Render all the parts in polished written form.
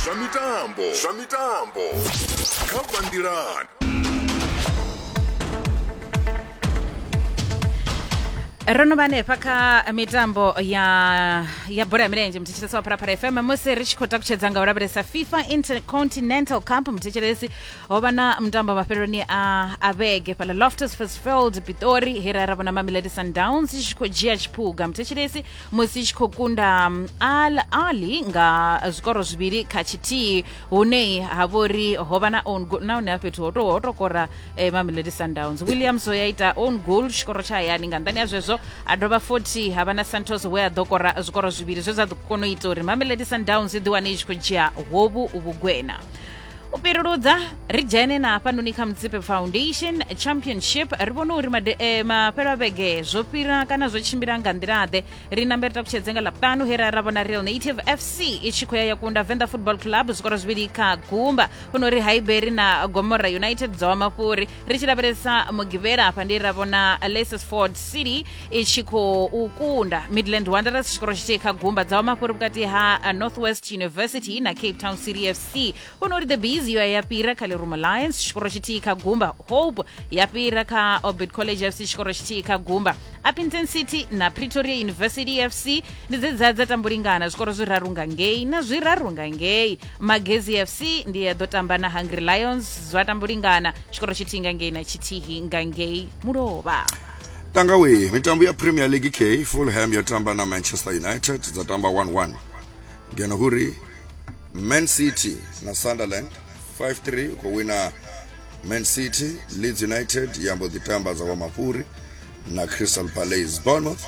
Zwa mitambo, zwa mitambo kha Vhanḓilani. Ro no vha hanefha kha mitambo ya bola ya milenzhe, muthetshelesi wa Phalaphala FM, musi ri tshi khou takutshedza nga u lavhelesa FIFA Intercontinental Cup. Muthetshelesi, ho vha na mutambo mafheloni a vhege fhaḽa Loftus Versfeld, Pitori, he ra vhona Mamelodi Sundowns i tshi khou dzhia tshiphuga, muthetshelesi, musi i tshi khou kunda Al Ahly nga zwikoro 2-1, hune ha vhori ho vha na own goal nahone ha fhethu ho to kora Mamelodi Sundowns. Williams ya ita own goal tshikoro tsha hayani. Nga nḓani ya zwezwo a dovha futhi ha vha na Santos we a ḓo kora zwikoro zwivhili zwe zwa ḓo kona u ita uri Mamelodi Sundowns i ḓiwane i tshi khou dzhia hovhu vhugwena. U fhiruludza ri dzhene na hafhanoni kha Mutsipe Foundation Championship, ri vhone uri mafhelo a vhege zwo fhira kana zwo tshimbila nga nḓila-ḓe. Ri nambe ri takutshedze nga Ḽavhuṱanu, he ra vhona Real Native FC i tshi khou ya ya kunda Venḓa Football Club zwikoro 2-0. Huno ri Highbury na Gomora United dza wa mafhuri. Ri tshi lavhelesa Mugivhela, hafha ndi ra vhona Ford City i tshi khou kunda Midland Wanderers tshikoro 1-0. Dza wa mafhuri vhukati ha Northwest University na Cape Town City FC. Huno uri the Bees yo ya fhira kha Lerumo Lions tshikoro 1-0. Hope ya fhira kha Orbit College FC tshikoro 1-0. Upington City na Pretoria University FC ndi dze dza tambulingana zwikoro zwiraru nga ngei na zwiraru nga ngei. Magezi FC ndi ya ḓo tamba na Hungry Lions, zwa tambulingana tshikoro tshithihi nga ngei na tshithihi nga ngei mulovha. Tangawe mitambo ya Premier League k Fulham yo tamba na Manchester United, dza tamba 1-1, ngeno huri Man City na Sunderland 5-3, u khou wina Man City. Leeds United ya mbo ḓi tamba dza wa mafhuri na Crystal Palace. Bournemouth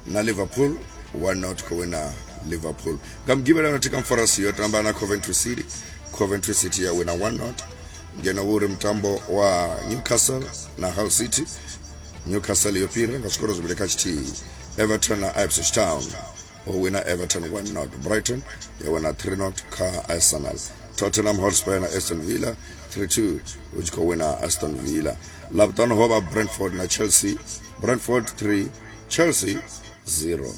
na Liverpool 1-0, khou wina Liverpool. Nga Mugivhela, Nottingham Forest yo tamba na Coventry City, Coventry City ya wina 1-0, ngeno uri mutambo wa Newcastle na Hull City, Newcastle yo fhira nga zwikoro 2-1. Everton na Ipswich Town, ho wina Everton 1-0. Brighton ya wina 3-0 kha Arsenal. Tottenham Hotspur na Aston Villa 3-2, hu tshi khou wina Aston Villa. Ḽavhuṱanu ho vha Brentford na Chelsea, Brentford 3, Chelsea 0.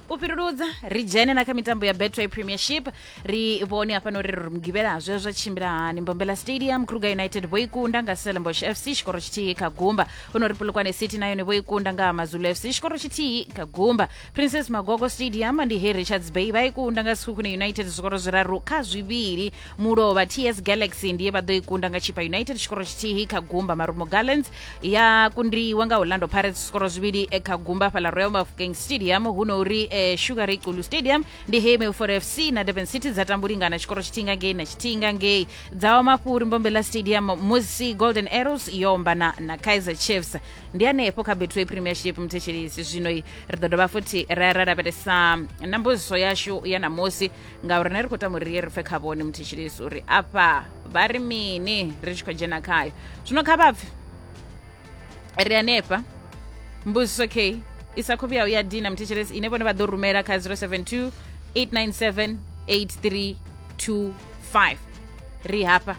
U fhiruludza ri dzhene na kha mitambo ya Betway Premiership, ri vhone hafhano uri ri Mugivhela zwe zwa tshimbila hani. Mbombela Stadium, Kruger United vho i kunda nga Stellenbosch FC tshikoro 1-0. Huno ri Polokwane City na yone vho i kunda nga Amazulu FC tshikoro 1-0. Princess Magogo Stadium ndi he Richards Bay vha i kunda nga Sekhukhune United zwikoro 3-2. Mulovha TS Galaxy ndiye vha ḓo i kunda nga Chippa United tshikoro 1-0. Marumo Gallants ya kundiwa nga Orlando Pirates zwikoro 2-0 fhaḽa Royal Bafokeng Stadium. Huno uri Sugar Ray Xulu Stadium ndi he Milford FC na Durban City dza tambulingana tshikoro tshithihi nga ngei na tshithihi nga ngei. Dza wa mafhuri Mbombela Stadium musi Golden Arrows yo ombana na Kaizer Chiefs. Ndi hanefho kha Betway Premiership, muthetshelisi. Zwino ri ḓo dovha futhi ra lavhelesa na mbudziso yashu ya namusi, ngauri ne ri khou tama uri ri ye ri pfe kha vhone, muthetshelisi, uri afha vha ri mini ri tshi khou dzhena khayo. Zwino kha vhapfe ri hanefha mbudziso k i sa khou vhuya ya dina, muthetshelesi, ine vhone vha ḓo rumela kha 072 897 8325. Ri hafha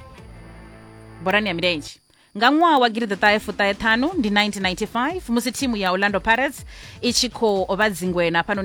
bolani ya milenzhe. Nga ṅwaha wa 1995, ndi 1995, musi thimu ya Orlando Pirates i tshi khou vha dzingwena hafhanoni.